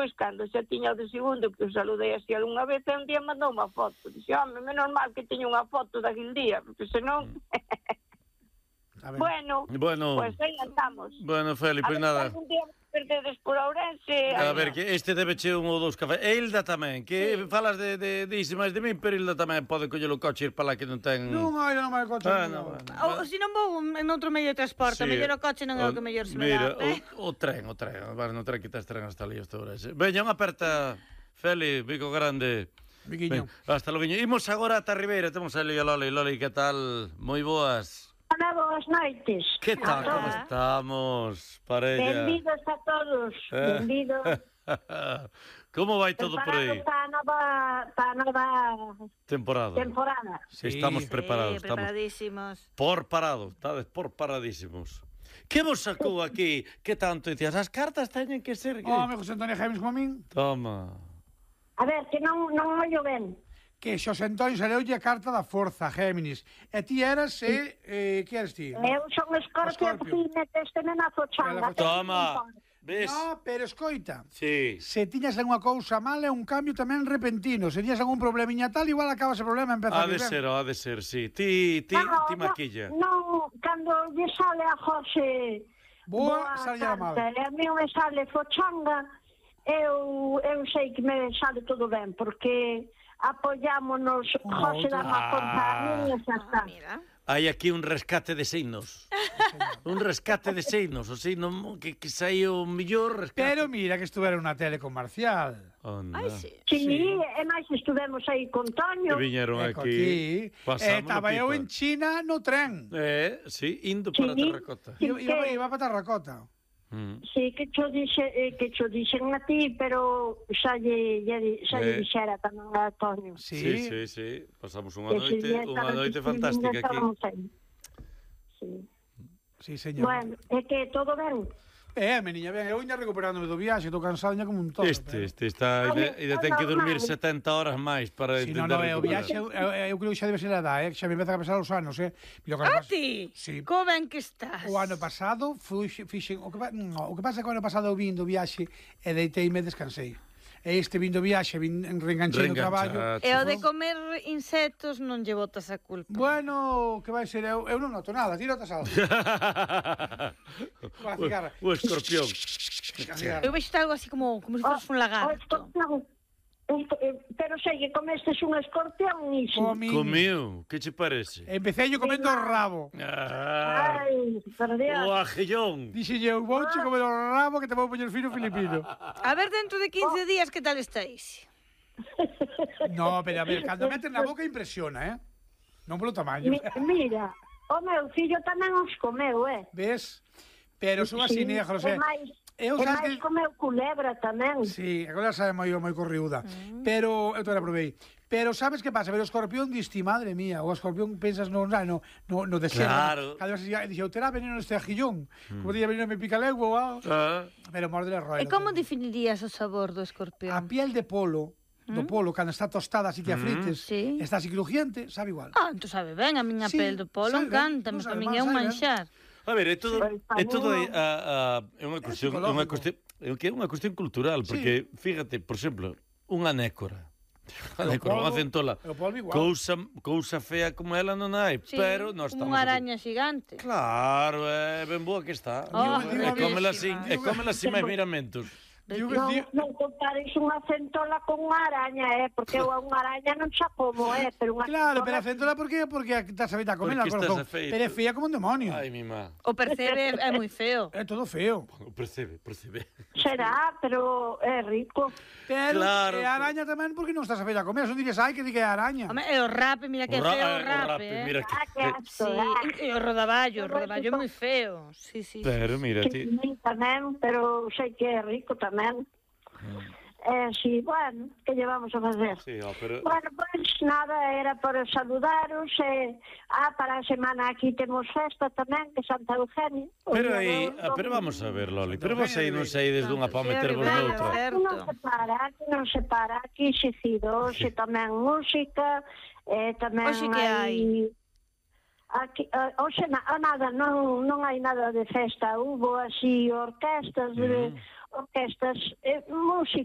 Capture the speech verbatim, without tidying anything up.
despois, cando xa tiña o de segundo, que o saludei así algunha vez, e un día mandou unha foto. Dixe, home, menos mal que teño unha foto daquil día, porque senón... bueno, bueno, pues aí andamos. Bueno, Feli, pois pues nada. Algún día perdedes por Ourense. A ver, que este debe che un ou dous cafés. E Hilda tamén, que sí. falas de, de, de iso máis de min, pero Hilda tamén pode coller o coche e ir para lá que non ten... Non, hai non máis coche. Ah, no, no. no. O, se non vou en outro medio de transporte, sí. mellor o coche non é o que mellor se me Mira, dá. Mira, o, o tren, o tren. Vale, non tren que tes tren hasta ali, hasta Ourense. Veña, unha aperta, Feli, bico grande. Biquiño. Hasta logo. Imos agora ata Ribeira, temos a Lía Loli. Loli, que tal? Moi boas. Hola, boas noites. Que tal, como estamos, parella? Benvidos a todos, benvidos. Como vai todo por aí? Preparados para a nova, para a nova temporada. temporada. Sí, estamos preparados. Sí, preparadísimos. Estamos por parado, estades por paradísimos. Que vos sacou aquí? Que tanto dicías? As cartas teñen que ser... Oh, me José Antonio Géminis como a min. Toma. A ver, que non, non ollo ben. Que Xosé Antonio saleulle a carta da forza, Géminis. E ti eras, e... Eh, que eres ti? Eu son Escorpio, que meteste na fochanga. Toma. Ves? No, pero escoita. Sí. Se tiñas algunha cousa mal, é un cambio tamén repentino. Se tiñas algún problemiña tal, igual acaba ese problema e empeza a Ha de ser, ha de ser, sí. Ti, ti, no, ti maquilla. Non, no, cando lle sale a José... Boa, sale a mal. E a mí me sale fochanga, eu, eu sei que me sale todo ben, porque... apoyámonos, oh, José da Maconza, ah, e xa está. Hai aquí un rescate de signos. Un rescate de signos, o signo que, que saiu mellor rescate. Pero mira que estuvera unha tele comercial. Ai, sí. Sí, sí, e máis estuvemos aí con Toño. E viñeron aquí. aquí. E estaba eu en China no tren. Eh, sí, indo para sí, Terracota. Sí, iba, iba para Terracota. Mm. Sí, que cho dixe, eh, que cho dixen a ti, pero xa lle, lle, xa lle eh. dixera tamén a Antonio. Sí, sí, sí, sí. Pasamos unha noite, unha noite fantástica aquí. Sí. Sí, señor. Bueno, é que todo ben. Eh, meniña, ben, eu iña recuperándome do viaxe, estou cansado como un todo. Este, este está, e ten que dormir setenta horas máis para sí, entender. No, no, o viaxe, eu, eu, eu creo que xa debe ser a edad, eh, que xa me empeza a pesar os anos, eh. A ti? Sí. Como ben que estás? O ano pasado, fui, fixen, o que, no, o que pasa é que o ano pasado eu vim do viaxe e deitei e me descansei. E este vindo viaxe, vin reenganchei no traballo. E o de comer insectos non lle botas a culpa. Bueno, que vai ser, eu, eu non noto nada, ti notas algo. O escorpión. Eu vexo algo así como, como se fos un lagarto. Pero sei que comestes un escorpión, iso. Comiu, que che parece? Empecé yo comendo o rabo. Ah, Ai, por Dios. O ajillón. Dixe eu, vou che comer o rabo que te vou poñer fino filipino. A ver, dentro de quince días, que tal estáis? No, pero a ver, cando meten na boca impresiona, eh? Non polo tamaño. Mira, o meu fillo tamén os comeu, eh? Ves? Pero son así negros, eh? Eu e máis que... comeu culebra tamén. Sí, a culebra sabe moi, moi corriuda. Mm. Pero, eu te la provei. Pero sabes que pasa? Pero o escorpión diste, madre mía, o escorpión pensas no, no, no, no deserto. Claro. Cada vez dixo, terá veneno este ajillón. Mm. Como día veneno me pica lengua, ah. Pero morde le roe. E como definirías o sabor do escorpión? A piel de polo, do polo, cando está tostada así que a frites, sí. Está así crujiente, sabe igual. Ah, entón sabe ben, a miña sí, pel do polo encanta, no para min é un manxar. A ver, é todo, é todo é, a, a, é unha cuestión, é unha cuestión, é que é unha cuestión cultural, porque sí. Fíjate, por exemplo, unha nécora. Unha nécora, unha centola. Cousa, cousa fea como ela non hai, sí, pero nós estamos unha araña xigante. Claro, é ben boa que está. Oh, é comela así, é comela así máis miramentos. Non, non compares unha centola con unha araña, eh, porque unha araña non xa como, eh, pero unha claro, pero a centola por qué? Porque estás a feita a comer, pero é fea como un demonio. Ai, mi má. O percebe é moi feo. É todo feo. O percebe, percebe. Será, pero é rico. Pero claro, é araña tamén porque non estás a feita a comer, son dirías, ai, que di que é araña. Home, é o rape, mira que feo o rape, eh. Mira que sí, e o rodaballo, o rodaballo é moi feo. Sí, sí. Pero mira, ti. Tamén, pero sei que é rico tamén. Mm. Eh, sí, bueno, que llevamos a facer? Sí, oh, pero... Bueno, pois pues, nada, era para saludaros e, ah, para a semana aquí temos festa tamén, que Santa Eugenia. Pero aí, ah, pero vamos a ver, Loli, pero vos aí non sei desde unha para metervos noutra. Aquí non se para, aquí non se para, aquí xecido, xe tamén música, eh, tamén Oxe que hai... Aquí, uh, oxe, na, nada, non, non hai nada de festa, hubo así orquestas, mm. de, orquestas, eh, música.